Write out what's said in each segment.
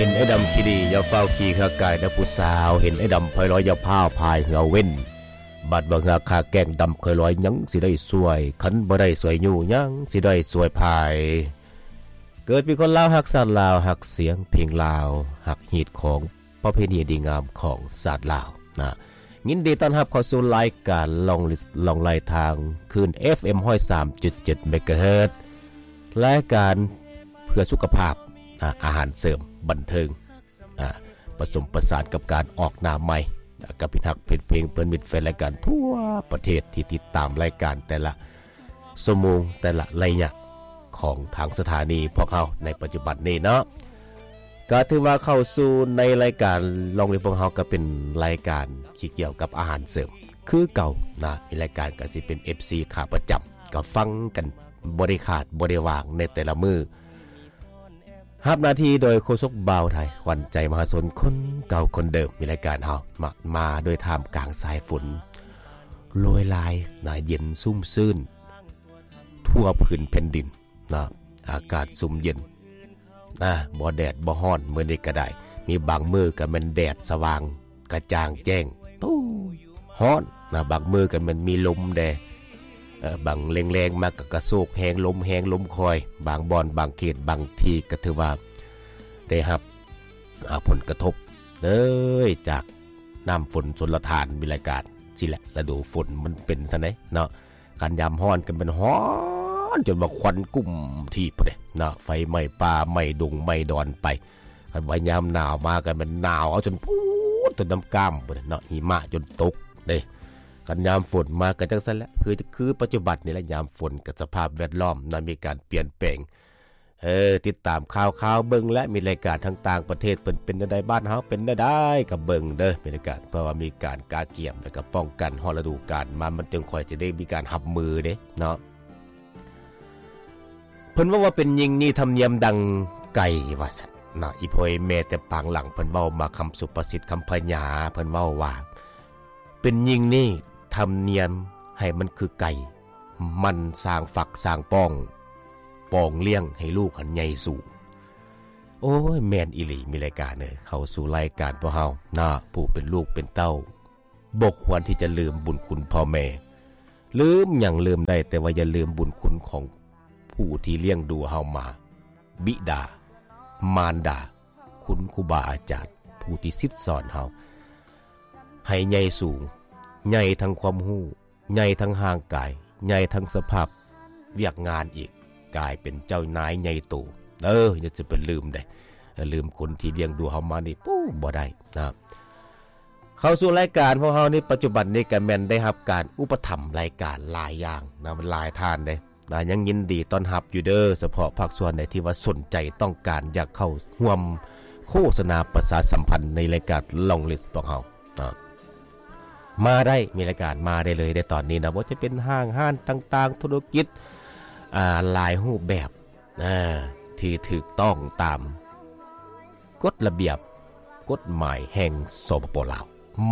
ເຫັນໄອ້ດຳຂີ່ດີ ຢ່າຟ້າວຂີ່ເຮືອກາຍເດີຜູ້ສາວ ເຫັນໄອ້ດຳພາຍລອຍ ຢ່າພາວພາຍເຮືອເວັນ ບາດວ່າເຮືອຄາແກ້ງດຳຄ່ອຍລອຍ ຍັງຊິໄດ້ຊ່ວຍ ຄັນບໍ່ໄດ້ຊ່ວຍຍູ້ ຍັງຊິໄດ້ຊ່ວຍພາຍ. ເກີດເປັນຄົນລາວ ຮັກຊາດລາວ ຮັກສຽງເພງລາວ ຮັກຮີດຄອງ ປະເພນີອັນດີງາມຂອງຊາດລາວນະ. ຍິນດີຕ້ອນຮັບເຂົ້າສູ່ລາຍການລ່ອງລິດລ່ອງໄລ່ທາງຄື້ນ ເອັຟເອັມ ຮ້ອຍສາມຈຸດເຈັດ ເມກາເຮີດ ລາຍການເພື່ອສຸຂະພາບນະ ອາຫານເສີມ ບັນເທີງ ອາ ປະສົມປະສານກັບການອອກໜ້າໃໝ່ ກັບມິດຮັກເພັນເພງ ເພື່ອນມິດແຟນລາຍການທົ່ວປະເທດທີ່ຕິດຕາມລາຍການແຕ່ລະ ຊົ່ວໂມງແຕ່ລະໄລຍະຂອງທາງສະຖານີພວກເຮົາໃນປັດຈຸບັນນີ້ເນາະ ກໍຖືວ່າເຂົ້າສູ່ໃນລາຍການລ່ອງລິດພວກເຮົາ ກໍເປັນລາຍການທີ່ກ່ຽວກັບອາຫານເສີມຄືເກົ່ານະ. ມີລາຍການກໍຊິເປັນເອັຟຊີຂາປະຈຳ ກໍຟັງກັນບໍ່ໄດ້ຂາດບໍ່ໄດ້ຫວ່າງໃນແຕ່ລະມື້. ຮັບໜ້າທີ່ໂດຍໂຄສົກບ່າວໄທ ຂວັນໃຈມະຫາຊົນຄົນເກົ່າຄົນເດີມ. ມີລາຍການເຮົາມາ ມາໂດຍທ່າມກາງສາຍຝົນໂລຍລາຍນະ ເຢັນຊຸ່ມຊື່ນທົ່ວພື້ນແຜ່ນດິນນະ ອາກາດຊຸ່ມເຢັນນະ ບໍ່ແດດບໍ່ຮ້ອນ. ມື້ນີ້ກໍໄດ້ ມີບາງມື້ກໍແມ່ນແດດສະຫວ່າງ ກະຈ່າງແຈ້ງ ໂອ້ ຮ້ອນນະ. ບາງມື້ກໍແມ່ນມີລົມແດ່ ເອີ ບາງແລງໆມາກໍກະໂຊກແຮງ ລົມແຮງລົມຄ່ອຍ. ບາງບ່ອນບາງເຂດບາງທີ່ກໍຖືວ່າໄດ້ຮັບ ອາ ຜົນກະທົບເລີຍຈາກນ້ຳຝົນຊົນລະທານ. ມີລາຍການຊີ້ແຫຼະ ລະດູຝົນມັນເປັນຊັ້ນເດເນາະ. ຄັນຍາມຮ້ອນກໍແມ່ນຮ້ອນຈົນວ່າຄວັນກຸ້ມທີ່ພຸ້ນເດເນາະ ໄຟໄໝ້ປ່າໄໝ້ດົງໄໝ້ດອນໄປ. ຄັນວ່າຍາມໜາວມາກໍແມ່ນໜາວເອົາຈົນພຸ້ນ ຈົນນ້ຳກ້າມພຸ້ນເນາະ ຫິມະຈົນຕົກເດ້. ຄັນຍາມຝົນມາກໍຈັ່ງຊັ້ນແຫຼະ ຄື ຄືປັດຈຸບັນນີ້ແຫຼະ ຍາມຝົນກໍສະພາບແວດລ້ອມນະ ມີການປ່ຽນແປງ. ເອີ ຕິດຕາມຂ່າວໆເບິ່ງແຫຼະ ມີລາຍການທາງຕ່າງປະເທດເພິ່ນເປັນແນວໃດ ບ້ານເຮົາເປັນແນວໃດ ກໍເບິ່ງເດີ ມີລາຍການ ເພື່ອວ່າມີການກະກຽມ ແລ້ວກໍປ້ອງກັນຮອດລະດູການມາ ມັນຈຶ່ງຄ່ອຍຊິໄດ້ມີການຮັບມືເດ້ເນາະ. ເພິ່ນເວົ້າວ່າ ເປັນຍິ່ງນີ້ທຳນຽມດັ່ງໄກ່ ວ່າຊັ້ນເນາະ. ອີ່ພໍ່ອີ່ແມ່ແຕ່ປາງຫຼັງ ເພິ່ນເວົ້າມາຄຳສຸພາສິດຄຳພະຍາ ເພິ່ນເວົ້າວ່າ ເປັນຍິ່ງນີ້ທຳນຽມໃຫ້ມັນຄືໄກ່ ມັນສ້າງຝັກສ້າງປ້ອງ ປອງລ້ຽງໃຫ້ລູກຫັ້ນໃຫຍ່ສູງ. ໂອ້ຍ ແມ່ນອີ່ຫຼີ ມີລາຍການເອີຍ ເຂົ້າສູ່ລາຍການພວກເຮົານະ ຜູ້ເປັນລູກເປັນເຕົ້າ ບໍ່ຄວນທີ່ຈະລືມບຸນຄຸນພໍ່ແມ່. ລືມຫຍັງລືມໄດ້ ແຕ່ວ່າຢ່າລືມບຸນຄຸນຂອງຜູ້ທີ່ລ້ຽງດູເຮົາມາ ບິດາ ມານດາ ຄຸນຄູບາອາຈານ ຜູ້ທີ່ສິດສອນເຮົາ ໃຫ້ໃຫຍ່ສູງ ໃຫຍ່ທັງຄວາມຮູ້ ໃຫຍ່ທັງຮ່າງກາຍ ໃຫຍ່ທັງສະພາບວຽກງານອີກ ກາຍເປັນເຈົ້ານາຍໃຫຍ່ໂຕ. ເອີ ຢ່າຈະໄປລືມເດ້ ລືມຄົນທີ່ລ້ຽງດູເຮົາມານີ້ ປູ້ ບໍ່ໄດ້ນະ. ເຂົ້າສູ່ລາຍການພວກເຮົານີ້ ປັດຈຸບັນນີ້ກໍແມ່ນໄດ້ຮັບການອຸປະຖຳລາຍການຫຼາຍຢ່າງນະ ມັນຫຼາຍທ່ານເດ້ນະ. ຍັງຍິນດີຕ້ອນຮັບຢູ່ເດີ ສະເພາະພາກສ່ວນໃດທີ່ວ່າສົນໃຈຕ້ອງການຢາກເຂົ້າຮ່ວມໂຄສະນາປະຊາສຳພັນໃນລາຍການລ່ອງລິດພວກເຮົານະ ມາໄດ້ ມີລາຍການມາໄດ້ເລີຍໃນຕອນນີ້ນະ. ບໍ່ວ່າຈະເປັນຫ້າງຮ້ານຕ່າງໆ ທຸລະກິດ ອາ ຫຼາຍຮູບແບບ ນະ ທີ່ຖືກຕ້ອງຕາມກົດລະບຽບກົດໝາຍແຫ່ງ ສປປ ລາວ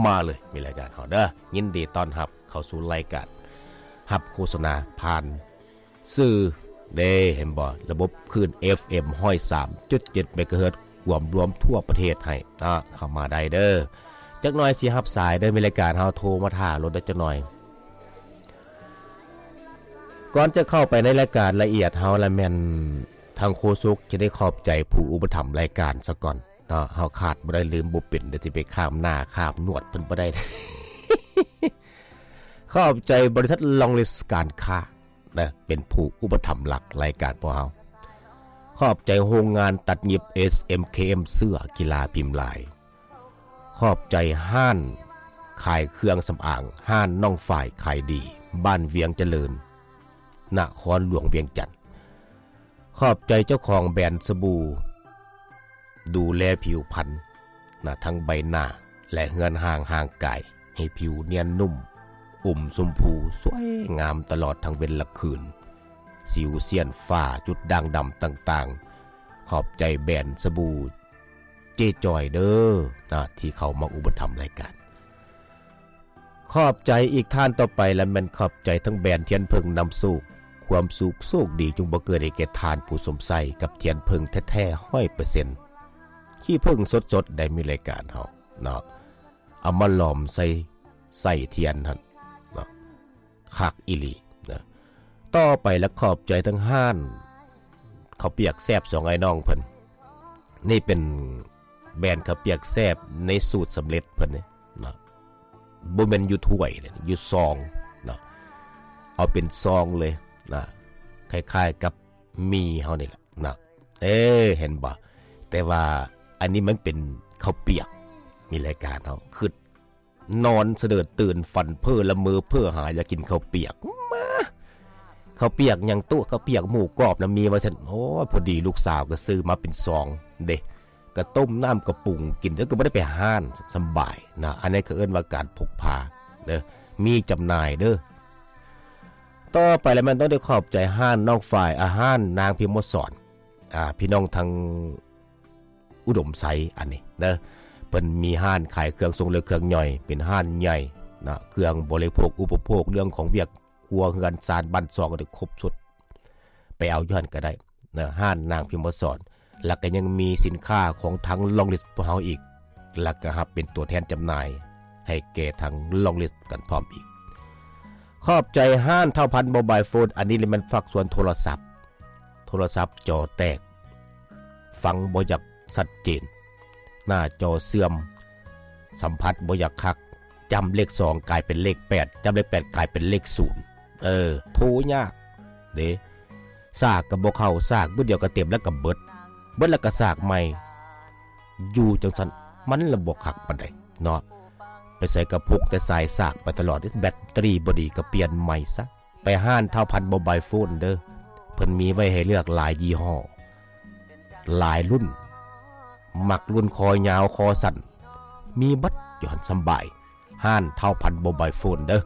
ມາເລີຍ ມີລາຍການເຮົາເດີ. ຍິນດີຕ້ອນຮັບເຂົ້າສູ່ລາຍການ ຮັບໂຄສະນາຜ່ານສື່ເດ້ ເຫັນບໍ່ ລະບົບຄື້ນ ເອັຟເອັມ ຮ້ອຍສາມຈຸດເຈັດ ເມກາເຮີດ ກວມລວມທົ່ວປະເທດໃຫ້ເນາະ ເຂົ້າມາໄດ້ເດີ. ຈັກໜ່ອຍຊິຮັບສາຍເດີ ມີລາຍການເຮົາໂທມາຖ້າໂລດເດີ ຈັກໜ່ອຍ. ກ່ອນຈະເຂົ້າໄປໃນລາຍການລະອຽດເຮົາລະແມ່ນ ທາງໂຄສົກຈະໄດ້ຂອບໃຈຜູ້ອຸປະຖຳລາຍການສາກ່ອນເນາະ. ເຮົາຂາດບໍ່ໄດ້ ລືມບໍ່ເປັນ ດຽວຊິໄປຂ້າມໜ້າຂ້າມໜວດເພິ່ນບໍ່ໄດ້. ຂອບໃຈບໍລິສັດລ່ອງລິດການຄ້ານະ ເປັນຜູ້ອຸປະຖຳຫຼັກລາຍການພວກເຮົາ. ຂອບໃຈໂຮງງານຕັດຫຍິບ ເອສເອັມເຄເອັມ ເສື້ອກິລາພິມລາຍ. ຂອບໃຈຮ້ານຂາຍເຄື່ອງສຳອາງ ຮ້ານນ້ອງຝ້າຍຂາຍດີ ບ້ານວຽງຈະເລີນ ນະຄອນຫຼວງວຽງຈັນ. ຂອບໃຈເຈົ້າຂອງແບຣນສະບູ ດູແລຜິວພັນນະ ທັງໃບໜ້າ ແລະ ເຮືອນຮ່າງຮ່າງກາຍ ໃຫ້ຜິວນຽນນຸ້ມ ອຸ່ມຊົມພູ ສວຍງາມຕະຫຼອດທັງເວັນລະຄືນ ສິວສ້ຽນ ຝ້າ ຈຸດດ່າງດຳຕ່າງໆ. ຂອບໃຈແບຣນສະບູ ເຈຈອຍເດີນະ ທີ່ເຂົ້າມາອຸປະຖຳລາຍການ. ຂອບໃຈອີກທ່ານຕໍ່ໄປລະແມ່ນຂອບໃຈທັງແບຣນທຽນເຜິ້ງນຳໂຊກ ຄວາມສຸກໂຊກດີຈົ່ງບັງເກີດໃຫ້ແກ່ທ່ານຜູ້ຊົມໃຊ້ກັບທຽນເຜິ້ງແທ້ໆ ຮ້ອຍເປີເຊັນ. ຂີ້ເຜິ້ງສົດໆ ໄດ້ມີລາຍການເຮົາເນາະ ເອົາມາຫຼອມໃສ່ ໃສ່ທຽນຫັ້ນເນາະ ຄັກອີ່ຫຼີນະ. ຕໍ່ໄປລະຂອບໃຈທາງຮ້ານເຂົ້າປຽກແຊບສອງອ້າຍນ້ອງເພິ່ນ. ນີ້ເປັນແບຣນເຂົ້າປຽກແຊບໃນສູດສຳເລັດເພິ່ນນີ້ເນາະ ບໍ່ແມ່ນຢູ່ຖ້ວຍເດ້ ຢູ່ຊອງເນາະ ເອົາເປັນຊອງເລີຍນະ ຄ້າຍໆກັບໝີ່ເຮົານີ້ແຫຼະນະ. ເອີ ເຫັນບໍ່? ແຕ່ວ່າອັນນີ້ມັນເປັນເຂົ້າປຽກ ມີລາຍການເຮົາ ຄຶດ ນອນສະເດີດຕື່ນ ຝັນເພ້ອລະເມີເພ້ອຫາ ຢາກກິນເຂົ້າປຽກ ມາ ເຂົ້າປຽກຫຍັງຕົວະ ເຂົ້າປຽກໝູກອບນະມີວ່າຊັ້ນ. ໂອ້ຍ ພໍດີລູກສາວກໍຊື້ມາເປັນຊອງເດ້ ກໍຕົ້ມນ້ຳກະປຸງກິນ ແລ້ວກໍບໍ່ໄດ້ໄປຮ້ານ ສຳບາຍນະ. ອັນນີ້ເຂົາເອີ້ນວ່າການພົກພາເດີ ມີຈຳໜ່າຍເດີ. ຕໍ່ໄປລະແມ່ນຕ້ອງໄດ້ຂອບໃຈຮ້ານນ້ອງຝ້າຍ ອາ ຮ້ານນາງພິມມະສອນ ອາ ພີ່ນ້ອງທາງ ອຸດົມໄຊ ອັນນີ້ເດີ ເພິ່ນມີຮ້ານຂາຍເຄື່ອງຊົງ ແລະ ເຄື່ອງຍ່ອຍ ເປັນຮ້ານໃຫຍ່ນະ ເຄື່ອງບໍລິໂພກອຸປະໂພກ ເລື່ອງຂອງວຽກຄົວເຮືອນຊານບ້ານຊ່ອງ ໄດ້ຄົບຊຸດ ໄປເອົາຢູ່ຫັ້ນກໍໄດ້ນະ ຮ້ານນາງພິມມະສອນ. ແລ້ວກໍຍັງມີສິນຄ້າຂອງທາງລອງລິດພວກເຮົາອີກ ແລ້ວກໍຮັບເປັນຕົວແທນຈຳໜ່າຍໃຫ້ແກ່ທາງລອງລິດກັນພ້ອມອີກ. ຂອບໃຈຮ້ານທ້າວພັນໂມບາຍໂຟນ ອັນນີ້ລະແມ່ນພາກສ່ວນໂທລະສັບ ໂທລະສັບຈໍແຕກ ຟັງບໍ່ຢາກຊັດເຈນ ໜ້າຈໍເສື່ອມ ສຳຜັດບໍ່ຢາກຄັກ ຈຳເລກສອງກາຍເປັນເລກແປດ ຈຳເລກແປດກາຍເປັນເລກສູນ ເອີ ໂທຍາກເດ້. ສາກກໍບໍ່ເຂົ້າ ສາກບຶດດຽວກໍເຕັມ ແລ້ວກໍເບິດ ເບິດແລ້ວກໍສາກໃໝ່ ຢູ່ຈັ່ງຊັ້ນມັນລະບໍ່ຄັກປານໃດເນາະ. ໄປໃສກໍພົກແຕ່ສາຍສາກໄປຕະຫຼອດ ແບັດເຕີຣີບໍ່ດີກໍປ່ຽນໃໝ່ຊະ. ໄປຮ້ານທ້າວພັນໂມບາຍໂຟນເດີ ເພິ່ນມີໄວ້ໃຫ້ເລືອກຫຼາຍຍີ່ຫໍ້ ຫຼາຍລຸ້ນ ມັກລຸ້ນຄໍຍາວຄໍສັ້ນ ມີເບິດຢູ່ຫັ້ນ ສຳບາຍ. ຮ້ານທ້າວພັນໂມບາຍໂຟນເດີ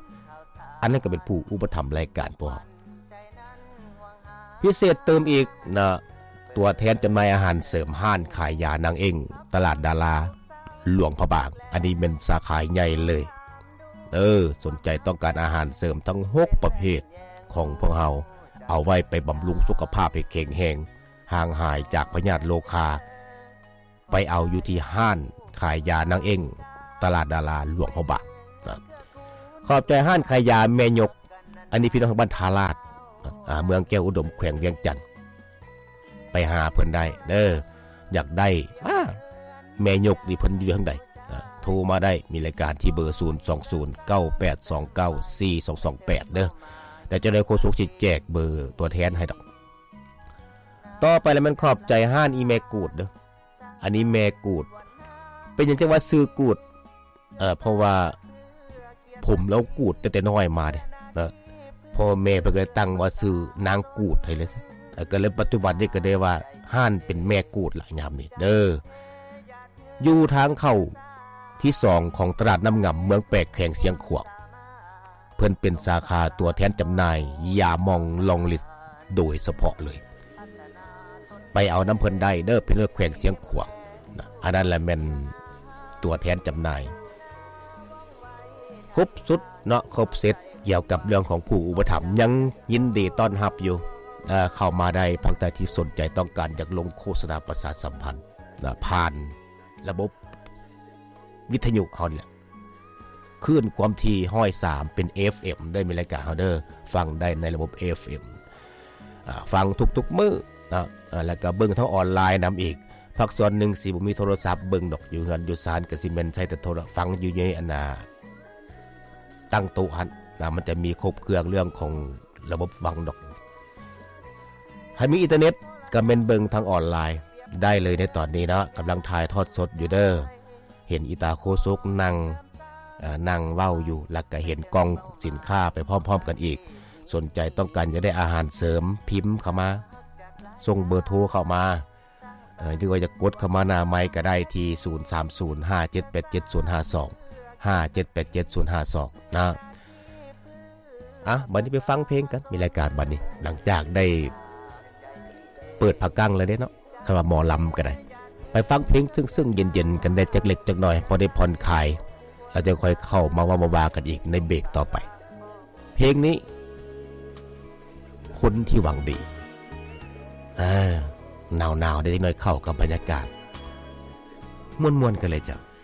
ອັນນັ້ນກໍເປັນຜູ້ອຸປະຖຳລາຍການພວກເຮົາ. ພິເສດຕື່ມອີກນະ ຕົວແທນຈຳໜ່າຍອາຫານເສີມ ຮ້ານຂາຍຢານາງເອັ້ງ ຕະຫຼາດດາລາ ຫຼວງພະບາງ ອັນນີ້ແມ່ນສາຂາໃຫຍ່ເລີຍ. ເອີ ສົນໃຈຕ້ອງການອາຫານເສີມທັງຫົກປະເພດຂອງພວກເຮົາ ເອົາໄວ້ໄປບຳລຸງສຸຂະພາບໃຫ້ແຂງແຮງ ຫ່າງຫາຍຈາກພະຍາດໂລຄາ ໄປເອົາຢູ່ທີ່ຮ້ານຂາຍຢານາງເອັ້ງ ຕະຫຼາດດາລາ ຫຼວງພະບາງນະ. ຂອບໃຈຮ້ານຂາຍຢາແມ່ຍົກ ອັນນີ້ພີ່ນ້ອງທາງບ້ານທ່າລາດ ອາ ເມືອງແກ້ວອຸດົມ ແຂວງວຽງຈັນ ໄປຫາເພິ່ນໄດ້ເດີ ຢາກໄດ້ ອາ ແມ່ຍົກນີ້ເພິ່ນຢູ່ທາງໃດ ອາ ໂທມາໄດ້ ມີລາຍການທີ່ເບີ ສູນສອງສູນ ເກົ້າແປດສອງເກົ້າ ສີ່ສອງສອງແປດ ເດີ ແລ້ວຈັ່ງໃດໂຄສົກຊິແຈກເບີຕົວແທນໃຫ້ດອກ. ຕໍ່ໄປລະແມ່ນຂອບໃຈຮ້ານອີ່ແມ່ກູດເດີ ອັນນີ້ແມ່ກູດ ເປັນຫຍັງຈັ່ງວ່າຊື່ກູດ? ເອີ ເພາະວ່າຜົມລາວກູດຕັ້ງແຕ່ນ້ອຍມາເດ້ເນາະ ພໍ່ແມ່ເພິ່ນກໍເລີຍຕັ້ງວ່າຊື່ນາງກູດໃຫ້ເລີຍ ເອີ ກໍເລີຍປັດຈຸບັນນີ້ກໍໄດ້ວ່າຮ້ານເປັນແມ່ກູດລະຍາມນີ້ເດີ. ຢູ່ທາງເຂົ້າທີສອງຂອງຕະຫຼາດນ້ຳງຳ ເມືອງແປກ ແຂວງຊຽງຂວາງ ເພິ່ນເປັນສາຂາຕົວແທນຈຳໜ່າຍຢາໝອງລອງລິດໂດຍສະເພາະເລີຍ ໄປເອົານຳເພິ່ນໄດ້ເດີ ເພິ່ນຢູ່ແຂວງຊຽງຂວາງນະ. ອັນນັ້ນລະແມ່ນຕົວແທນຈຳໜ່າຍຄົບຊຸດເນາະ ຄົບເຊັດ ກ່ຽວກັບເລື່ອງຂອງຜູ້ອຸປະຖຳ ຍັງຍິນດີຕ້ອນຮັບຢູ່ ເຂົ້າມາໄດ້ ພາກໃດທີ່ສົນໃຈຕ້ອງການຢາກລົງໂຄສະນາປະຊາສຳພັນນະ ຜ່ານລະບົບວິທະຍຸເຮົານີ້ແຫຼະ ຄື້ນຄວາມຖີ່ຮ້ອຍສາມ ເປັນເອັຟເອັມ ເດີ ມີລາຍການເຮົາເດີ ຟັງໄດ້ໃນລະບົບເອັຟເອັມ ອາ ຟັງທຸກໆມື້ເນາະ ອາ ແລ້ວກໍເບິ່ງທາງອອນລາຍນຳອີກ. ພາກສ່ວນໜຶ່ງຊິບໍ່ມີໂທລະສັບເບິ່ງດອກ ຢູ່ເຮືອນຢູ່ຊານກໍຊິແມ່ນໃຊ້ແຕ່ໂທລະ ຟັງຢູ່ໃນອັນນ່າ ຕັ້ງໂຕະຫັ້ນນະ ມັນຈະມີຄົບເຄື່ອງເລື່ອງຂອງລະບົບຟັງດອກ. ໃຜມີອິນເຕີເນັດກໍແມ່ນເບິ່ງທາງອອນລາຍໄດ້ເລີຍໃນຕອນນີ້ເນາະ ກຳລັງຖ່າຍທອດສົດຢູ່ເດີ. ເຫັນອີຕາໂຄສົກນັ່ງ ເອີ ນັ່ງເວົ້າຢູ່ ແລ້ວກະເຫັນກ່ອງສິນຄ້າໄປພ້ອມໆກັນອີກ. ສົນໃຈຕ້ອງການຢາກໄດ້ອາຫານເສີມ ພິມເຂົ້າມາ ສົ່ງເບີໂທເຂົ້າມາ ເອີ ຫຼືວ່າຢາກກົດເຂົ້າມາໜ້າໄມກະໄດ້ທີ່ ສູນສາມສູນ ຫ້າເຈັດແປດເຈັດ ສູນຫ້າສອງ ຫ້າເຈັດແປດເຈັດ ສູນຫ້າສອງ ນະ. ອ່ະ ບັດນີ້ໄປຟັງເພງກັນ ມີລາຍການບັດນີ້ ຫຼັງຈາກໄດ້ເປີດພະກັ້ງແລ້ວເດ້ເນາະ ຄັນວ່າໝໍລຳກໍໄດ້ ໄປຟັງເພງເຊິ່ງໆເຢັນໆກັນໄດ້ຈັກເລັກຈັກໜ້ອຍ ພໍໄດ້ຜ່ອນຄາຍ ແລ້ວຈັ່ງຄ່ອຍເຂົ້າມາເວົ້າມາວ່າກັນອີກໃນເບຣກຕໍ່ໄປ. ເພງນີ້ ຄົນທີ່ຫວັງດີ ເອີ ໜາວໆ ໄດ້ຈັກໜ້ອຍ ເຂົ້າກັບບັນຍາກາດ ມ່ວນໆກັນເລີຍເຈົ້າ.